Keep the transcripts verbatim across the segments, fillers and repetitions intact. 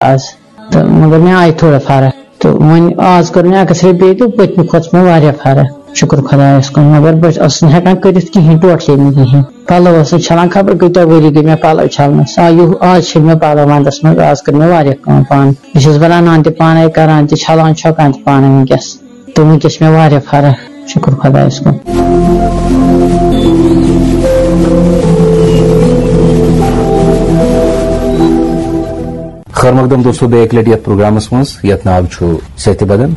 آز۔ تہٕ مگر مےٚ آیہِ تھوڑا فرق۔ تہٕ وۄنۍ آز کٔر مےٚ ایکس رے بیٚیہِ تہٕ پٔتمہِ کھۄتہٕ چھِ مےٚ واریاہ فرق، شُکُر خۄدایَس کُن۔ مگر بہٕ ٲسٕس نہٕ ہٮ۪کان کٔرِتھ کِہیٖنۍ، ٹوٹلی نہٕ کِہیٖنۍ۔ پَلو ٲسٕس چھَلان، خبر کۭتیٛاہ ؤری گٔے مےٚ پَلو چھَلنَس۔ آ، یُہ-، آز چھِ مےٚ پَلو وَندَس منٛز، آز کٔر مےٚ واریاہ کٲم پانہٕ۔ بہٕ چھَس بَناونان تہِ پانَے، کَران تہِ، چھَلان چھۄکان تہِ پانَے وٕنکیٚس۔ تہٕ وٕنکیٚس چھِ مےٚ واریاہ فرق، شُکُر خۄدایَس کُن۔ خٲر مقدم دوستو، بیٚیہِ اَکہِ لَٹہِ یَتھ پروگرامَس منٛز، یَتھ ناو چھُ صحتِ بدن۔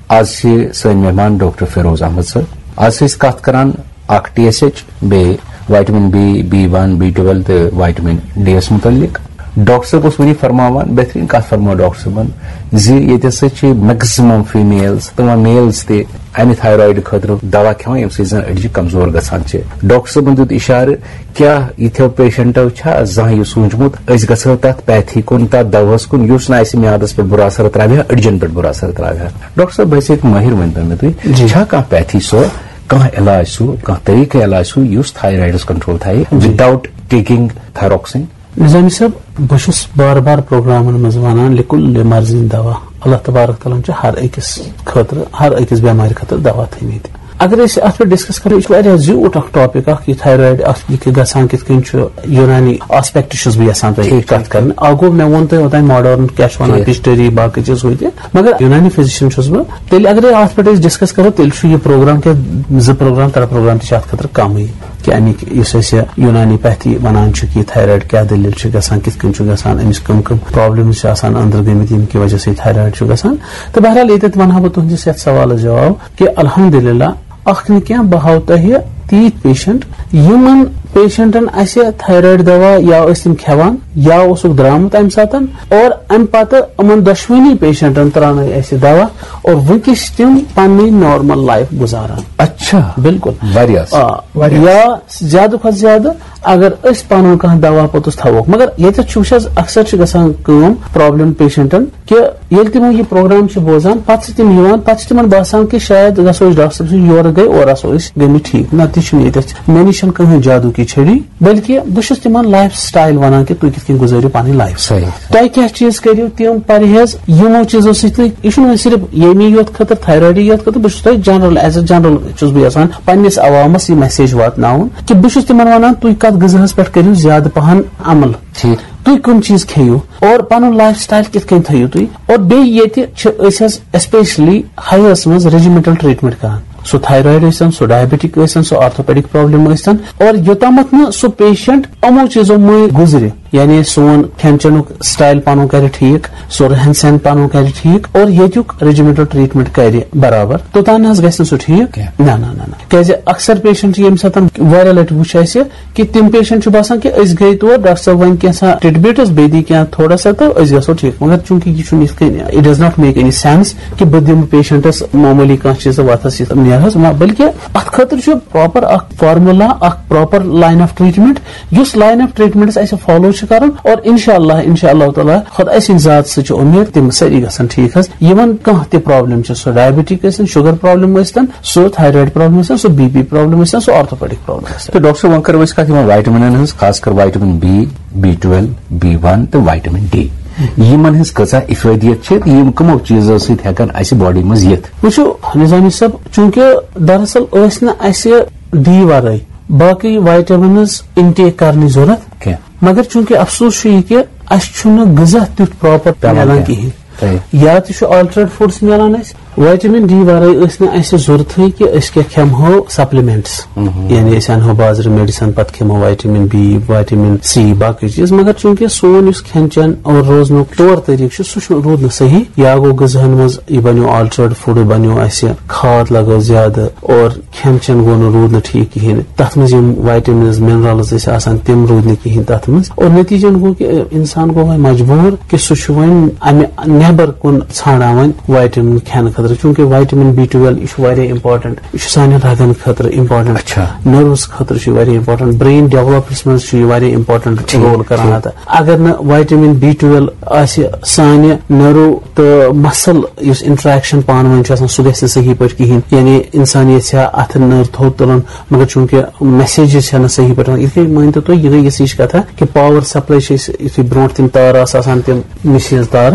آز چھِ سٲنۍ مہمان ڈاکٹر فیروز احمد صٲب۔ آز چھِ أسۍ کَتھ کَران اَکھ ٹی ایس ایچ، بیٚیہِ وائٹمن بی، بی ون، بی ٹُویلو تہٕ وائٹمن ڈی یَس مُتعلِق۔ ڈاکٹر صٲب اوس وٕنی فرماوان، بہتریٖن کَتھ فرمٲو ڈاکٹر صٲبَن، زِ ییٚتہِ ہسا چھِ میکسِمم فیمیلز تہٕ وۄنۍ میلز تہِ اَمہِ تھایرایڈ خٲطرٕ دوا کھٮ۪وان، ییٚمہِ سۭتۍ زَن أڈجہِ کمزور گژھان چھِ۔ ڈاکٹر صٲبَن دیُت اِشارٕ، کیٛاہ یِتھیو پیشنٹو چھا زانٛہہ یہِ سوٗنٛچمُت، أسۍ گژھو تَتھ پیتھی کُن، تَتھ دَوہَس کُن، یُس نہٕ اَسہِ میادَس پٮ۪ٹھ بُرٕ اثر ترٛاوِ ہا، أڈجَن پٮ۪ٹھ بُرٕ اثر ترٛاوِ ہا؟ ڈاکٹر صٲب، بحیثیت مٲہِر، ؤنۍ تو مےٚ تُہۍ، جی۔ چھا کانٛہہ پیتھی سۄ، کانٛہہ علاج سُہ، کانٛہہ طریٖقہٕ علاج سُہ، یُس تھایرایڈَس کنٹرول تھایہِ، جی۔ Without taking thyroxine؟ نظامی صٲب، بہٕ چھُس بار بار پروگرامن منٛز ونان، لِکُلہِ مرضین دوا۔ اللہ تبارک تعالیٰ ہن چھُ ہر أکِس خٲطرٕ، ہر أکِس بٮ۪مارِ خٲطرٕ دوا تھٲومٕتۍ۔ اگر أسۍ اتھ پٮ۪ٹھ ڈسکس کرو، یہِ چھُ واریاہ زیوٗٹھ اکھ ٹاپک اکھ، یہِ تھایرایڈ، اتھ یہِ کہِ گژھان کِتھ کٔنۍ چھُ، یوٗنانی آسپیکٹ چھُس بہٕ یژھان تۄہہِ ٹھیٖک، کتھ ٹھیٖک۔ کرٕنۍ۔ اکھ گوٚو، مےٚ ووٚن تۄہہِ اوٚتام ماڈٲرن کیٛاہ چھِ ونان، ٹھیٖک۔ ہسٹری، باقٕے چیٖز ہُہ تہِ۔ مگر یوٗنانی فزیشن چھُس بہٕ۔ تیٚلہِ اگرے اتھ پٮ۪ٹھ أسۍ ڈسکس کرو، تیٚلہِ چھُ یہِ پروگرام کیٛاہ، زٕ پروگرام، ترٛےٚ پروگرام تہِ چھِ اتھ خٲطرٕ کمٕے۔ کہِ اَمِکۍ یُس اَسہِ یوٗنانی پیتھی وَنان چھُ کہِ تھایرایڈ کیٛاہ دٔلیٖل چھِ گژھان، کِتھ کٔنۍ چھُ گژھان، أمِس کٕم کٕم پرابلمز چھِ آسان أنٛدرٕ گٔمٕتۍ، ییٚمہِ کہِ وجہ سۭتۍ تھایرایڈ چھُ گژھان۔ تہٕ بہرحال، ییٚتٮ۪تھ وَنہٕ ہا بہٕ تُہٕنٛدِس یَتھ سوالَس جواب کہِ الحمدللہ، اَکھ نہٕ کینٛہہ، بہٕ ہاوٕ تۄہہِ تیٖتۍ پیشنٹ، یِمَن پیشنٹَن اَسہِ تھایرایڈ دوا یا ٲسۍ تِم کھٮ۪وان یا اوسُکھ درٛامُت اَمہِ ساتَن، اور اَمہِ پَتہٕ یِمَن دۄشوٕنی پیشنٹَن ترٛاونٲے اَسہِ دوا، اور وٕنکیٚس چھِ تِم پَنٕنۍ نارمل لایف گُزاران۔ اچھا۔ بِلکُل۔ واریاہ اَصٕل۔ آ، واریاہ۔ یا زیادٕ کھۄتہٕ زیادٕ اگر أسۍ پنُن کانٛہہ دوا پوٚتُس تھاووکھ، مگر ییٚتٮ۪تھ چھُ وٕچھ حظ، اکثر چھِ گژھان کٲم، پرابلم پیشنٹن، کہِ ییٚلہِ تِم یہِ پروگرام چھِ بوزان، پتہٕ چھِ تِم یِوان، پتہٕ چھِ تِمن باسان کہِ شاید گژھو أسۍ ڈاکٹر صٲب سٕنٛدِ یورٕ گٔے، اورٕ آسو أسۍ گٔمٕتۍ ٹھیٖک۔ نہ، تہِ چھُنہٕ ییٚتٮ۪تھ، مےٚ نِش چھَنہٕ کٕہٕنۍ جادو کی چھڑی، بلکہِ بہٕ چھُس تِمن لایف سٹایل ونان کہِ تُہۍ کِتھ کٔنۍ گُزٲرِو پنٕنۍ لایف۔ صحیح۔ تۄہہِ کیٛاہ چیٖز کٔرِو تِم پرہیز یِمو چیٖزو سۭتۍ تُہۍ، یہِ چھُنہٕ وۄنۍ صرف ییٚمی یوت خٲطرٕ، تھایرایڈٕے یوت خٲطرٕ، بہٕ چھُس تۄہہِ جنرل، ایز اے جنرل چھُس بہٕ یژھان پننِس عوامس یہِ میسیج واتناوُن کہِ بہٕ چھُس تِمن ونان، تُہۍ کتھ غذاہس پٮ۪ٹھ کٔرِو زیادٕ پہن عمل۔ ٹھیٖک۔ تُہۍ کٕم چیٖز کھیٚیِو اور پنُن لایف سٹایل کِتھ کٔنۍ تھٲیِو تُہۍ۔ اور بیٚیہِ ییٚتہِ چھِ أسۍ حظ اسپیشلی ہایس منٛز ریجیمنٹل ٹریٹمنٹ کران۔ سُہ تھایرایڈ ٲسۍتن، سُہ ڈایبٹک ٲسۍتن، سُہ آرتھوپیڈک پرابلم ٲسۍتن، اور یوٚتامتھ نہٕ سُہ پیشنٹ یِمو چیٖزو مٔنٛزۍ گُزرِ، یعنی سون کھٮ۪ن چٮ۪نُک سٹایل پنُن کرِ ٹھیٖک، سُہ رہن سہن پنُن کرِ ٹھیٖک، اور ییٚتیُک ریجیمنٹل ٹریٹمنٹ کرِ برابر، توٚتام نہ حظ گژھِ نہٕ سُہ ٹھیٖک۔ کینٛہہ۔ نہ، نہ، نہ، نہ۔ کیازِ اکثر پیشنٹ چھِ ییٚمہِ ساتہٕ واریاہ لٹہِ وُچھ اَسہِ کہِ تِم پیشنٹ چھِ باسان کہِ أسۍ گٔے تور، ڈاکٹر صٲب وۄنۍ کینٛژھا ٹِڈ بِٹس، بیٚیہِ دی کینٛہہ تھوڑا سا تہٕ أسۍ گژھو ٹھیٖک۔ مگر چوٗنٛکہِ یہِ چھُنہٕ یِتھ کٔنۍ، it does not make any sense کہِ بہٕ دِمہٕ پیشنٹس معموٗلی کانٛہہ چیٖزا وتھس یِتھ نیرہس، نہ، بلکہِ اتھ خٲطرٕ چھُ پراپر اکھ فارمولا، اکھ پراپر لاین آف ٹریٹمنٹ، یُس لاین آف ٹریٹمنٹس اسہِ فالو چھُ کرُن، اور انشاءاللہ، انشاءاللہ تعالیٰ، خۄداے سٕنٛدِ ذات سۭتۍ چھِ اُمید، تِم سٲری گژھن ٹھیٖک حظ۔ یِمن کانٛہہ تہِ پرابلم چھِ، سُہ ڈایبٹک ٲسِن، شُگر پرابلم ٲسۍتن، سُہ تھایرایڈ پرابلم ٲسۍتن، سُہ بی پی پرابلم ٲسۍتن، سُہ آرتھوپیڈک پرابلم ٲسۍتن۔ تہٕ ڈاکٹر صٲب، وۄنۍ کرو أسۍ کتھ یِمن وائٹمنن ہٕنٛز، خاص کر وائٹمن بی، بی ٹُویلو، بی ون تہٕ وائٹمن ڈی۔ یِمن ہٕنٛز کۭژاہ افٲدیت چھِ تہٕ یِم کٕمو چیٖزو سۭتۍ ہٮ۪کن اسہِ باڈی منٛز یِتھ؟ وٕچھِو نظامی صٲب، چوٗنٛکہِ دراصل ٲسۍ نہٕ اسہِ ڈی ورٲے باقٕے وائٹمنز انٹیک کرنٕچ ضروٗرت۔ کینٛہہ۔ مگر چوٗنٛکہِ افسوس چھُ یہِ کہِ اسہِ چھُنہٕ غذا تیُتھ پراپر پٮ۪وان میلان کینٛہہ۔ کِہیٖنۍ۔ صحیح۔ یا تہِ چھُ آلٹرنیٹ فوڈس میلان اسہِ، وائٹمن ڈی ورٲے ٲسۍ نہٕ اسہِ ضروٗرتھٕے کہِ أسۍ کیٛاہ کھٮ۪مہو سپلمنٹس۔ مہم۔ یعنی أسۍ انہو بازرٕ میڈیسن، پتہٕ کھٮ۪مو وائٹمن بی، وائٹمن سی، باقٕے چیٖز۔ مگر چوٗنٛکہِ سون یُس کھٮ۪ن چٮ۪ن اور روزنُک طور طریٖقہٕ چھُ، سُہ چھُ، روٗد نہٕ صحیح۔ یا گوٚو غذاہن منٛز یہِ بنیو آلٹرنیٹ فوڈ، بنیو اسہِ کھاد لگٲو زیادٕ اور کھٮ۪ن چٮ۪ن گوٚو نہٕ، روٗد نہٕ ٹھیٖک کِہیٖنۍ۔ تَتھ منٛز یِم وائٹمنز، منرلز ٲسۍ آسان، تِم روٗدۍ نہٕ کِہیٖنۍ تَتھ منٛز۔ اور نتیٖجن گوٚو کہِ اِنسان گوٚو وۄنۍ مجبوٗر کہِ سُہ چھُ وۄنۍ اَمہِ نٮ۪بر کُن ژھانڈان وۄنۍ وائٹمن کھٮ۪نہٕ خٲطرٕ۔ چونکہ وائٹمن بی ٹویلو یہِ چھُ واریاہ امپارٹنٹ، یہِ چھُ سانٮ۪ن رگن خٲطرٕ امپارٹنٹ، اچھا۔ نروز خٲطرٕ چھُ یہِ واریاہ امپارٹنٹ، برین ڈیولپمنٹس منٛز چھُ یہِ واریاہ امپارٹنٹ ٹھیٖک، رول کران ٹھیٖک۔ ادا۔ اگر نہٕ وائٹمن بی ٹویلو آسہِ، سانہِ نرو تہٕ مسل یُس انٹریکشن پانہٕ ؤنۍ چھُ آسان، سُہ گژھِ نہٕ صحیح پٲٹھۍ کِہینۍ۔ یعنی انسان یژھِ ہا اتھٕ نٔر تھوٚد تُلُن، مگر چونکہ میسیجز چھنہٕ صحیح پٲٹھۍ یِوان۔ یِتھ کٔنۍ مٲنۍ تو تُہۍ، یہِ گٔے یِژھ ہِش کتھا کہ پاور سپلاے چھِ أسۍ، یُتھُے برونٛٹھ تِم تار آسہٕ آسان، تِم مِشیٖز تار،